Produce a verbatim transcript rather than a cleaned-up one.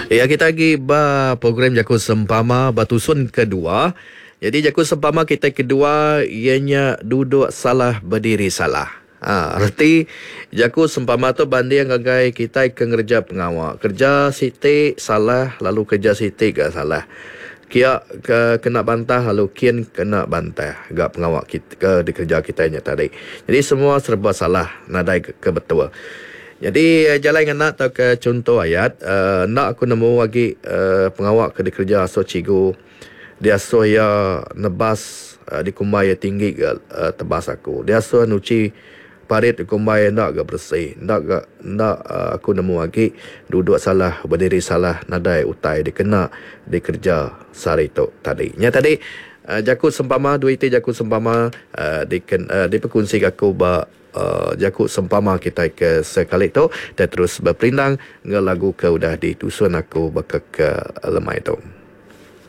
Ya, kita agi ba program Jaku Sempama ba tusun kedua. Jadi jaku sempama kita kedua iya nya duduk salah bediri salah. Ha, reti jaku sempama tu banding ngagai kitai ke ngereja pengawa. Kerja siti salah lalu kerja siti ga salah. Kia ke kena bantah lalu kin kena bantah ga pengawa kita ke dikereja kitai nya tadi. Jadi semua serba salah nadai ke, ke betul. Jadi jalai ngena tauka chunto ayat uh, enda aku nemu agi uh, pengawa ke dikereja asuh cikgu diasuh iya nebas uh, dikumbai iya tinggi ga uh, tebas aku. Diasuh nuchi parit dikumbai enda ga bersih. Enda ga enda uh, aku nemu agi duduk salah bediri salah nadai utai dikena dikereja sehari tu tadi. Nya tadi uh, jaku sempama dua iti jaku sempama uh, diken, uh, dipekunsi aku ba Uh, jaku sempama kita ke sekali tu. Dan terus berperindang enggau lagu ke udah ditusun aku baka ke lemai tu.